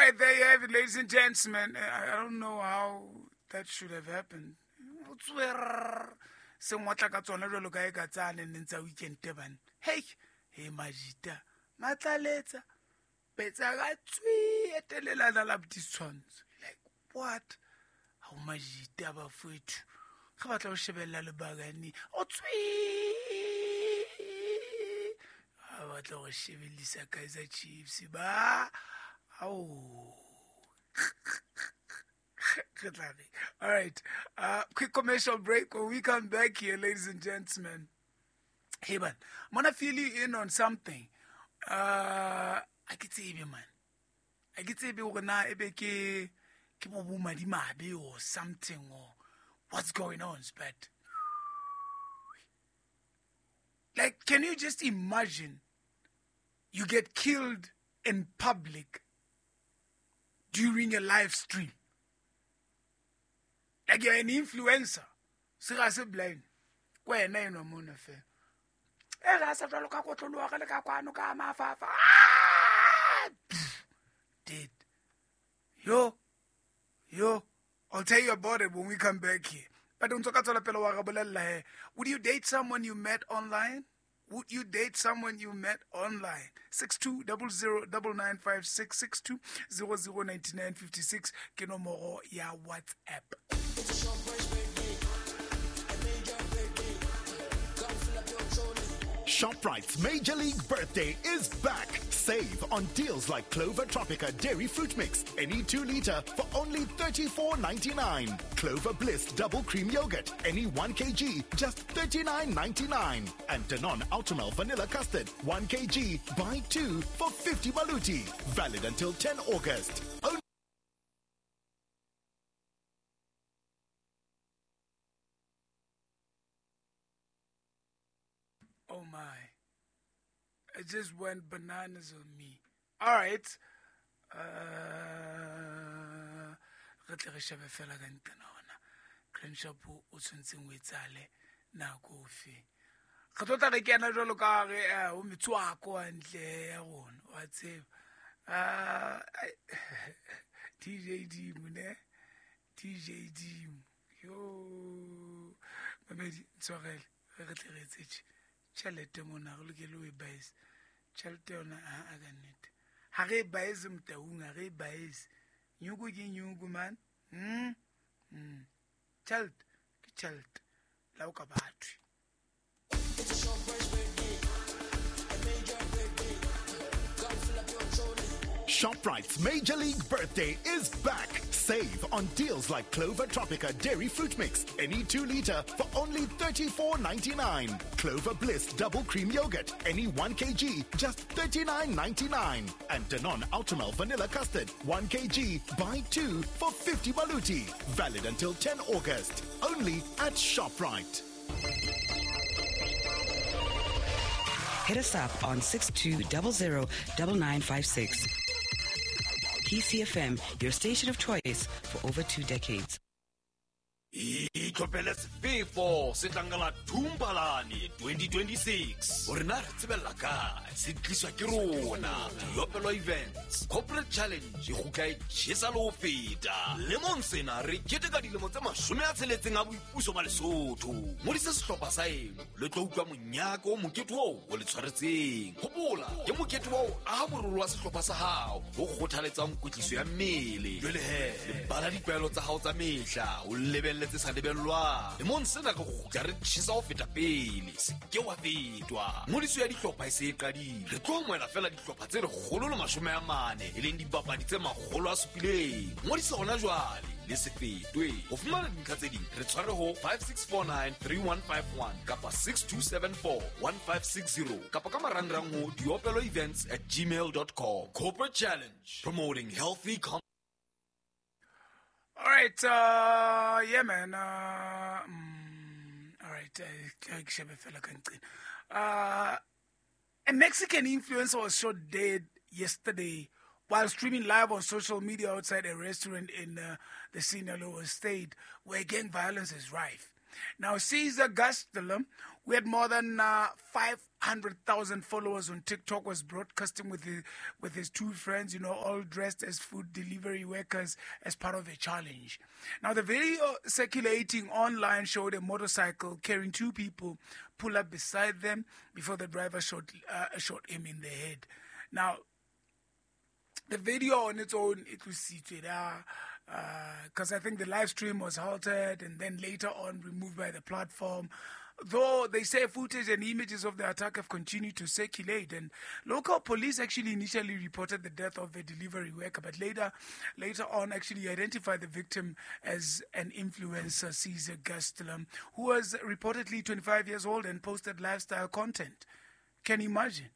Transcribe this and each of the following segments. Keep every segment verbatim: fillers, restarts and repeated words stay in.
right, there you have it, ladies and gentlemen. I, I don't know how that should have happened. Se ngotla ka tsona jwalo ka e ka tsane neng tsa weekend bana. Hey, hey majita, matlaletsa. Betsa ka tswi etelelana la ditshwantsho. Like what? Ha o majita ba fwethu. Ga batla go shebella lebakane. O tswi. Ha batla go shebellisa Kaizer Chiefs ba. Au. All right, uh, quick commercial break. When we come back here, ladies and gentlemen, hey man, I'm gonna fill you in on something. Uh, I can say, man, I can say, or something, or what's going on, but like, can you just imagine you get killed in public during a live stream? Like you're an influencer. Seriously blind. Kwa ena eno mona fe. E ra sa jwalo ka kotlologa le ka kwano ka mafafa. Dead. Yo. Yo. I'll tell you about it when we come back here. But don't talk about pele wa re bolella he. Would you date someone you met online? Would you date someone you met online? six two zero zero nine nine five six six two zero zero nine nine five six ke nomoro ya WhatsApp. ShopRite's Major League Birthday is back. Save on deals like Clover Tropica Dairy Fruit Mix, any two liter for only thirty-four ninety-nine. Clover Bliss Double Cream Yogurt, any one kilogram, just thirty-nine ninety-nine. And Danone Ultramel Vanilla Custard, one kilogram, buy two for fifty maluti. Valid until tenth August. Only Oh my. It just went bananas on me. All right. Uh, re tle re shebe fela ka nqena hona. Grand Shapo o tshwantseng o etsale nako ofe. Re tlo tla re kena jwalo ka re o metswako hantle ya rona. Wa tseba. Uh, D J Dimo ne? D J Dimo. Yo. Mamedi ntshwarele. Re tle re etse tjhelete mona re lokele ho e baese. Tjhelete yona ha a ka nnete. Ha re e baese motaung, ha re e baese. Nyuku ke nyuku man. Mm? Mm. Tjhelete ke tjhelete. La o ka bathwe. ShopRite's Major League Birthday is back. Save on deals like Clover Tropica Dairy Fruit Mix, any two liter for only thirty-four ninety-nine. Clover Bliss Double Cream Yogurt, any one kilogram, just thirty-nine ninety-nine. And Danone Ultramel Vanilla Custard, one kilogram, buy two for fifty maluti. Valid until tenth August. Only at ShopRite. Hit us up on six two zero zero nine nine five six. P C F M, your station of choice for over two decades. Itlhophele sefefo se tlangala Thumbalane twenty twenty-six. Hore na re tsebella kae? Se tliswa ke rona. Diopelo Events Corporate Challenge e kgutla e tjhesa le ho feta. Lemong sena re keteka dilemo tse mashome a tsheletseng a boipuso ba Lesotho. Ngodisa sehlopha sa eno le tlo utlwa monyaka o mokete oo o le tshwaretseng. Hopola ke mokete wa ho aha morolo wa sehlopha sa hao o kgothaletsang kwetliso ya mmele. Jwale he, lebala ditlwaelo tsa hao tsa mehla, o lebelle tse sa lebellwang. Lemong sena re kgutla re tjhesa ho feta pele. Se ke wa fetwa. Ngodiso ya dihlopha e se e qadile. Re tlo amohela fela dihlopha tse lekgolo le mashome a mane, e leng dipapadi tse makgolo a supileng. Ngodisa hona jwale le se fetwe. Ho fumana dintlha tse ding re tshware ho five six four nine three one five one kapa six two seven four one five six zero kapa ka marangrang ho diopelo events at gmail dot com. Corporate Challenge, promoting healthy com. All right, uh, yeah, man. Uh, mm, all right, uh, a Mexican influencer was shot dead yesterday while streaming live on social media outside a restaurant in uh, the Sinaloa state where gang violence is rife. Now, Cesar Gastelum, who had more than uh, five hundred thousand followers on TikTok, was broadcasting with his, with his two friends, you know, all dressed as food delivery workers as part of a challenge. Now, the video circulating online showed a motorcycle carrying two people pull up beside them before the driver shot, uh, shot him in the head. Now, the video on its own, it was seated, because uh, I think the live stream was halted and then later on removed by the platform. Though they say footage and images of the attack have continued to circulate, and local police actually initially reported the death of a delivery worker, but later, later on actually identified the victim as an influencer, Cesar Gastelum, who was reportedly twenty-five years old and posted lifestyle content. Can you imagine?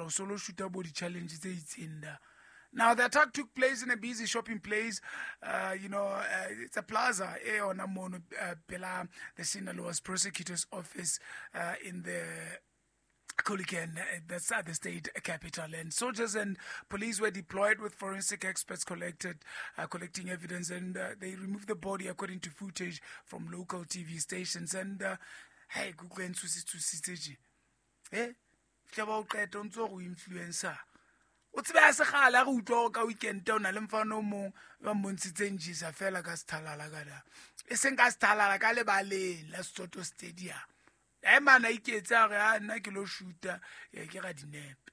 Solo shooter body challenges in there. Now, the attack took place in a busy shopping place. Uh, you know, uh, it's a plaza eh, on uh, the Sinaloa's prosecutor's office uh, in the Culiacan, that's at the state capital. And soldiers and police were deployed with forensic experts collected, uh, collecting evidence, and uh, they removed the body according to footage from local T V stations. And, uh, hey, eh? Influencer. O tsebe a segala go utlwa ka weekend o na le mfano mong ba mmontshitseng jisa fela ka sethalala ka da. E seng ka sethalala ka lebaleng la Soto Stadium. E mana iketse a re a nna ke lo shoota ya ke ga dinepe.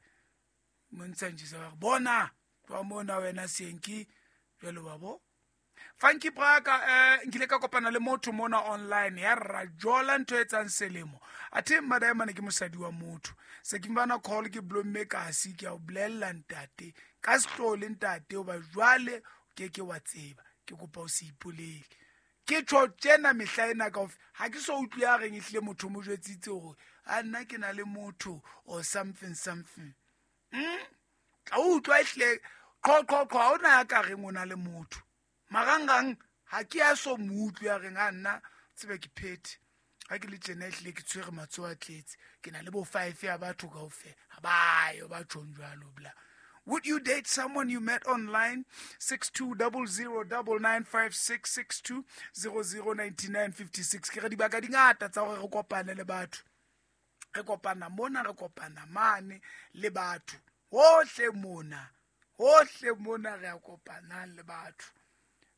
Mmontshang jisa ba bona ba mona wena Senki jalo wa bo. Funky Braka eh nkile ka kopana le motho mona online ya rajola ntho e tsang selemo. Athe madaemane ke mosadi wa motho. Se ke mbana call ke blomme ka se ke a o bolella ntate ka sehlole ntate o ba jwale ke ke wa tseba ke kopa o se ipolele. Ke tjho tsena mehla ena ka ha ke so utlwe ya reng ehlile motho mo jwetsitse hore a nna ke na le motho or something something. Mm? Ka utlwa ehlile qho qho qho ha ona ya ka reng o na le motho. Marangang ha ke a so mo utlwe ya reng a nna tsebe ke phethe ha ke le tjena ehlile ke tshwere matsoho a tletse ke na le bo five ya batho kaofela ha ba yo ba tjhong jwalo bla. Would you date someone you met online? Six two double zero double nine five six six two zero zero ninety nine fifty six. Ke re dibaka di ngata tsa hore re kopane le batho. Re kopana mona, re kopana mane le batho. Hohle mona, hohle mona re a kopana le batho.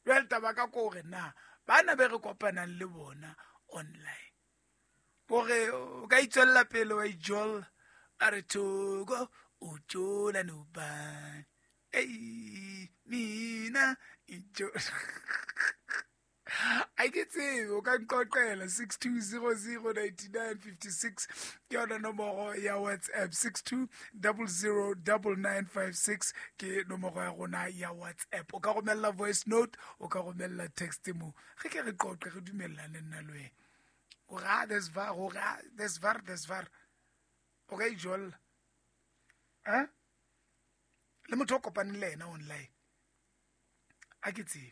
Jwale taba ka ko hore na bana be re kopanang le bona online. Hore o ka itswella pele wa ijolla a re thoko o tjola no ba. Ei mina ijo. I get tsebe o ka nqoqela six two zero zero nine nine five six ke yona nomoro ya WhatsApp six two zero zero nine nine five six ke nomoro ya rona ya WhatsApp. O ka romella voice note, o ka romella text mo. Re ke re qoqe re dumellane nna le wena. O ra des var, o ra des var des var. O ka ijolla. Eh? Le motho o kopaneng le yena online. A ke tsebe.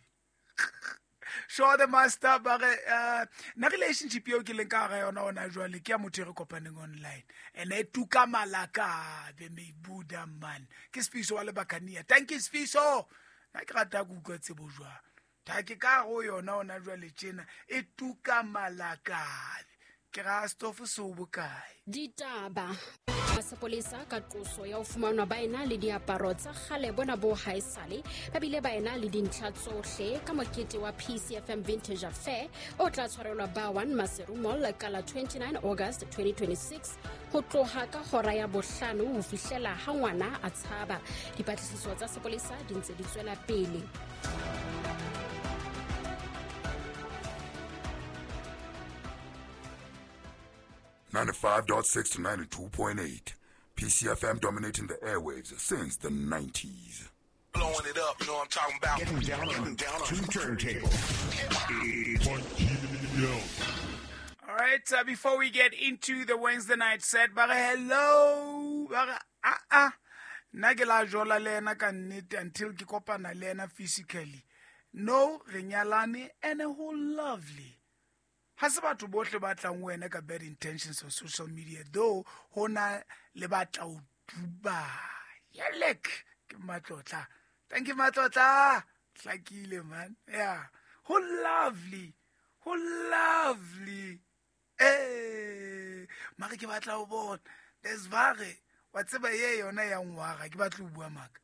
Show the master ba re uh, na relationship eo ke leng ka ga yona ona jwale ke ya motho e re kopaneng online and e tuka malaka be me buda man ke Sfiso wa lebakania. Thank you Sfiso. Na ke rata go utlwa tsebo jwa ta ke ka go yona ona jwale tjena e tuka malaka ke ra stofo so bokae ditaba sepolesa ka qoso ya ho fumanwa ba ena le diaparo tsa kgale bona bo haesale ba bile ba ena le dintlha tsohle ka mokete wa P C F M Vintage Affair o tla tshwarelwa ba one Maseru Mall ka la twenty-nine August twenty twenty-six ho tloha ka hora ya bohlano ho fihlela ha ngwana a tshaba. Dipatlisiso tsa sepolesa di ntse di tswela pele. ninety-five point six to ninety-two point eight. P C F M dominating the airwaves since the nineties. Blowing it up, you know what I'm talking about. Getting down on, down on two turntables. All right, uh, before we get into the Wednesday night set, but hello, ah ah, nna ke la jola le ena ka nnete until ke kopana le ena physically. No, re nyalane and a whole lovely. Ha se batho bohle ba tlang ho wena ka bad intentions on social media, though ho na le batla o duba. Yelek ke matlotla. Thank you matlotla. Hlakile man. Yeah. Ho lovely. Ho lovely. Eh, mare ke batla ho bona. Desvare, wa tseba ye yona ya ngwaga, ke batla ho bua maka.